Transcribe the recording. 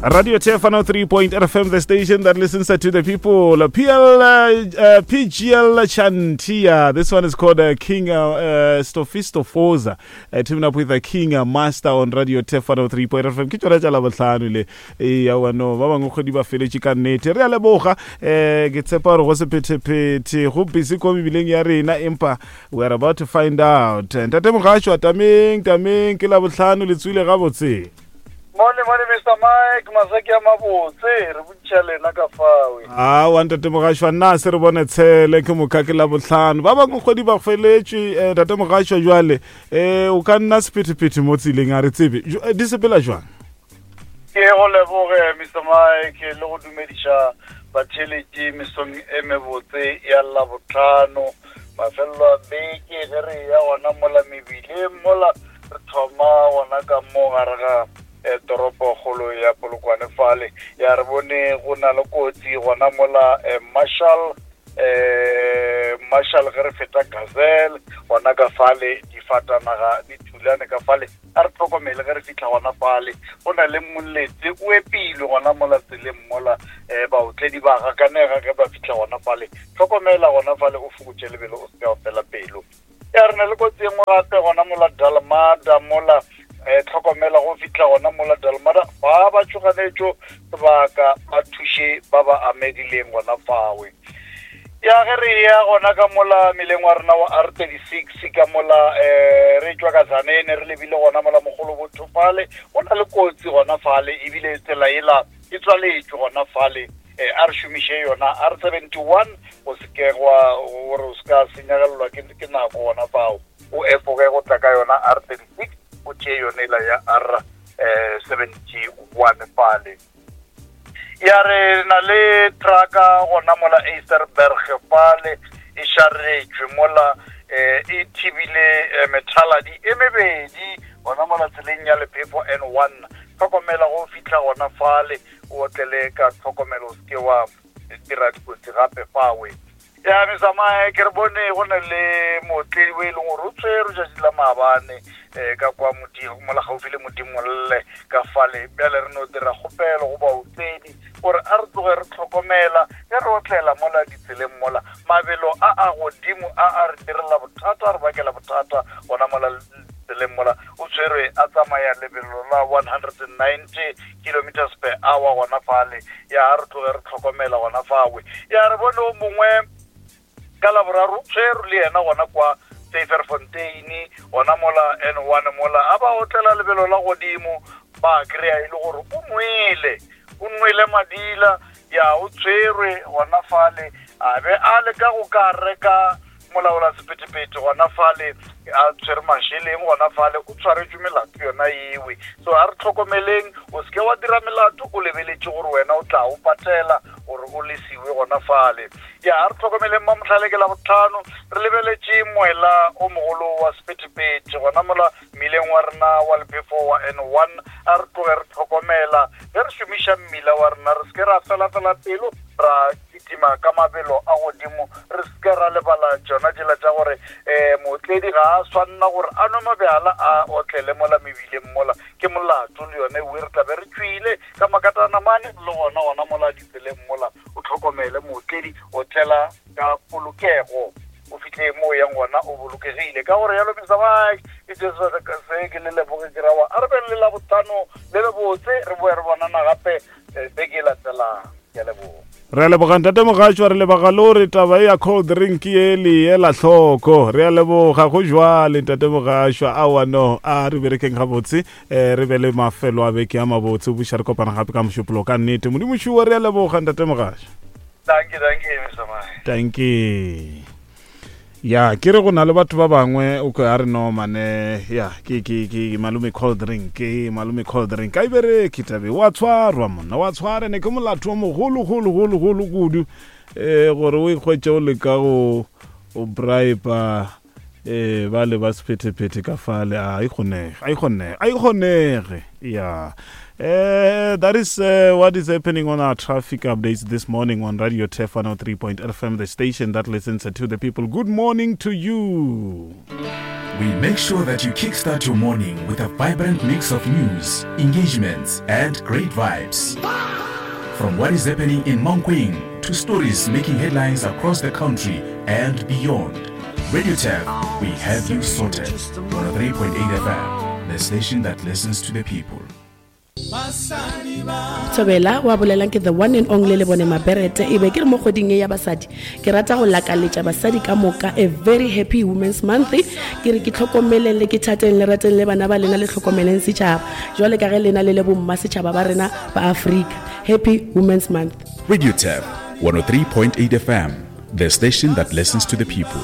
Radio Tefano 3.0 FM, the station that listens to the people. PL, uh, PGL Chantia. This one is called uh, King uh, uh, Stofisto Foza. Uh, teaming up with the King uh, Master on Radio Tefano 3.0 FM. Ke tšona tša Labohlano le. Ee, aowa no, ba bangwe kgwedi ba feletše ka nnete. Re a leboga. Eh, ke tshepa gore go sephethephethe go busy ko mebileng ya rena empa we are about to find out. Ntate Mogasho, tameng, tameng, ke Labohlano le tswile gabotse. Mone mone Mr Mike masaki a mabotse re botšiša lena ka fawe. Aowa ntate Mogašwa nna se re bone tshele ke moka ke labohlano ba bangwe kgwedi ba feletšwe eh, ntate Mogašwa jwale eh, o ka nna sephethephethe mo tseleng a re tsebe eh, di sepela jwang? Ke go leboge Mr Mike le go dumediša batheeletši mesong e mebotse ya Labohlano mafelelo a beke ge re ya gona mola mebileng mola Re thoma gona ka mo gare ga eh, toropokgolo ya Polokwane fale. Ya re bone go na le kotsi gona mola eh, Marshall eh Marshall ge re feta Gazelle gona ka fale difatanaga di thulane ka fale a re tlhokomele ge re fitlha gona fale go na le moletse o epilwe gona mola tseleng mola um baotledi ba gakanega ge ba fitlha gona fale tlhokomela gona fale o fokotše lebelo o se ka fela pelo Ya re na le kotsi e nngwe gape gona mola Dalmada mola eh, tlhokomela go fihla gona mola Dalmada ba ba tšhoganetšo sebaka ba thuše ba ba amegileng gona fawe. Ya ge re ya gona ka mola meleng wa rena wa R36 ka mola eh, re tšwa ka Zanene re lebile gona mola mogolo botho fale go na le kotsi gona fale ebile tsela ela e tswaletšwe gona fale eh, a re šomiše yona R71 go se ke gwa gore o se ka senyagelelwa ke, ke nako gona fao o efoge go tla ka yona R36 o tšee yone ela ya R71 fale ya re na le traka gona mola Eisterberg fale e šaretšwe mola eh, e thibile eh, methaladi e mebedi gona mola tseleng ya lephefo N1 Hlokomela go fihla gona fale, o otlele ka tlhokomelo, o se ke wa dira dikotsi gape fawe. Ya mesamae ke re bone go na le mootledi o e leng gore o tshwerwe tšatši la maabane um ka kwa mola gaufi le Modimolle ka fale. Bjale re no dira kgopelo go baotledi gore a re tloge re tlhokomela ge re otlela mola ditseleng mola. Mabelo a a godimo a a re direla bothata, a re bakela bothata gona mola tseleng mola o tshwerwe a tsamaya lebelo la 190 kilometers per hour gona fale. Ya re tloge re tlhokomela gona fawe. Ya re bone o mongwe ka laboraro o tshwerwe le yena gona kwa Syferfontein gona mola N1 mola a ba otlela lebelo la godimo ba kry-a e le gore o nwele o nwele madila ya o tshwerwe gona fale a be a leka go ka reka Molaola sephethephethe gona fale a tshwere mašeleng gona fale o tshwaretšwe melato yona ewe. So a re tlhokomeleng, o seke wa dira melato o lebeletše gore wena o tla o patela gore o lesiwe gona fale. Ya a re tlhokomeleng Mamohlale ke Labohlano re lebeletše moela o mogolo wa sephethephethe gona mola mmileng wa rena wa lephefo wa N1. A re tloge re tlhokomela ge re šomiša mmila wa rena, re seke ra felafela pelo ra kitima ka mabelo a godimo. Re se ke ra lebala tšona tšela tša gore um mootledi ga a swanna gore a nwe mabjala a otlele mola mebileng mola. Ke molato le yone ewe re tla be re tšwile ka makatana mane le gona gona mola ditseleng mola. O tlhokomele mootledi, otlela ka polokego o fihle mo o yang gona o bolokegile. Ka gore yalo Mister Mike, ke Jesu se ke le leboge ke rawa. A re beng le Labohlano le lebotse, re boe re bonana gape beke e latelang. Ke a leboga. Re a leboga ntate Mogatšwa, re leboga le gore taba e ya cold drink ye le ela hloko. Re a leboga go jwale ntate Mogatšwa. Aowa no, a re berekeng gabotse, eh, re be le mafelo a beke a mabotse. Buša re kopana gape ka Mošupologo ka nnete. Modimo šuwa, re a leboga ntate Mogatšwa. Dankie, dankie, Mr. Mahe. Dankie. Ya, ke re go na le batho ba bangwe o ka re no mane ya ke ke ke malome cold drink ke malome cold drink a e bereke tabe wa tshwarwa monna wa tshwara ne ke molato o mogolo golo golo golo kudu eh gore o ikgwetše o leka go o bribe eh ba le ba sephethephethe ka fale a e kgonege a e kgonege a e kgonege ya Uh, that is uh, what is happening on our traffic updates this morning on Radio Tef 103.fm, the station that listens to the people. Good morning to you. We make sure that you kickstart your morning with a vibrant mix of news, engagements, and great vibes. From what is happening in Mankweng to stories making headlines across the country and beyond. Radio Tab, we have you sorted. 103.8 FM, the station that listens to the people. Thobela wa bolelang ke the one and only le bone maberete e be ke re mo kgweding e ya basadi ke rata go lakaletša basadi ka moka a very happy women's month ke re ke tlhokomeleng le ke thateng le rateng le bana ba lena le tlhokomeleng setšhaba jwale ka ge lena le le bomma setšhaba ba rena ba Afrika happy women's month. Radio Tab 103.8 FM, the station that listens to the people.